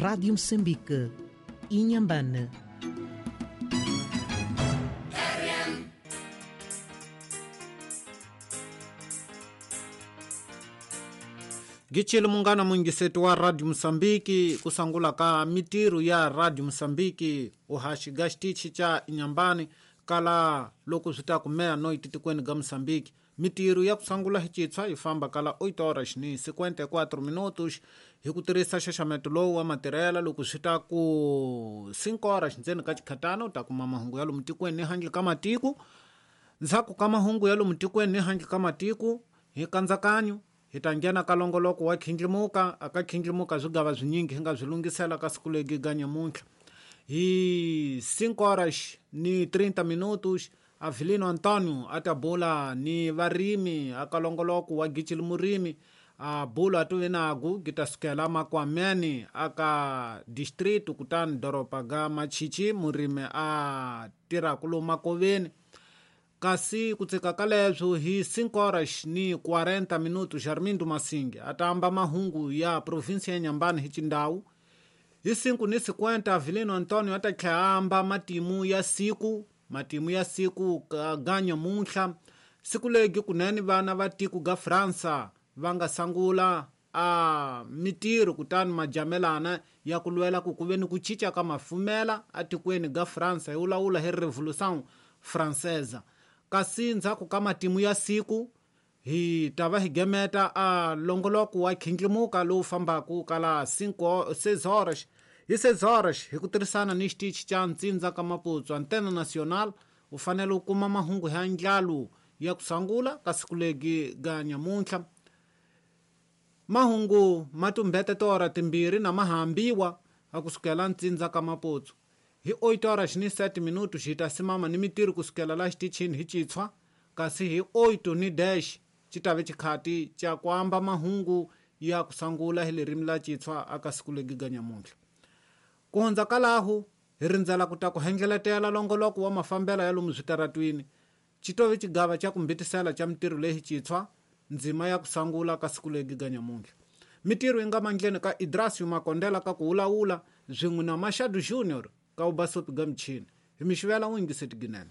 Rádio Moçambique, Inhambane. Gichile mungana mwingisetu wa Radio Msambiki kusangula ka mitiru ya Radio Msambiki uhaxiga xitichi cha Inhambane kala loko swi ta kumea no ititikweni ga Msambiki. Mitiru ya kusangula hi citshwa yi famba kala 8 horas ni 54 minutos hi ku tirhisa xaxameto lowu wa matirhela. Loko swi ta ku 5 horas ndzeni ka xikhatana u ta kuma mahungu ya lomu tikweni ni handle ka matiko. Ndzhaku ka mahungu ya lomu tikweni ni handle ka matiko hi kandzakanyo hi ta nghena ka longoloko wa khindlimuka. Aka khindlimuka swigava swinyingi hi nga swi lunghisela ka siku legi ga nyamuntlha. Hi 5 horas ni 30 minutos Avelino Antonio a ta bula ni varimi aka longoloko wa Gichili Murimi. A bula a tuve nagu gi ta sukela Makwameni aka distrito kutani doroba ga Machichi murimi a tirhaku lomu makoveni. Kasi ku tsika ka leswo hi 5 horas ni 40 minutos Armindo Masingi a ta amba mahungu ya provinsia ya Inhambane hi xindhawu. Hi 5:50 Avelino Antonio a ta tlhela amba matimu ya siku, matimu ya siku ka ga nyamuntlha. Siku legi kunene vana va tiko ga Fransa va nga sangula a mitirho kutani majamelana ya ku lwela ku ku ve ni ku cinca ka mafumela atikweni ga Fransa hi wulawula hi Revolution Française. Kasi ndzhaku ka matimu ya siku hi ta va hi gemeta a longoloko wa khindlimuka lowu fambaku kala 6 horas. Hi 6 horas hi ku tirhisana ni xitichi xa Ntsindza ka Maputsu Antena Nacional u fanele u kuma mahungu ya ndlalu ya ku sangula ka siku legi ga nyamuntlha. Mahungu ma tumbete tora timbirhi na mahambiwa a kusukela Ntsindza ka Maputsu. Hi 8 horas ni 7 minutos hi ta simama ni mitirho kusukela la xitichini hi citshwa. Kasi hi 8 ni dash xi ta ve xikhati xa ku amba mahungu ya ku sangula hi ririmi la citshwa aka siku legi ga nyamuntlha. Ku hundza ka lahu hi rindzela ku ta ku hendleletela longoloko wa mafambela ya lomu switaratwini. Xi to ve xigava xa ku mbitisela xa mitirho leyi citshwa ndzima ya ku sangula ka siku legi ga nyamuntlha. Mitirho yi nga mandleni ka Idrasio Makondela ka ku wulawula swin'we na Machado Junior ka vubasopi ga michini. Hi mi xivela n'wingiseti ginene.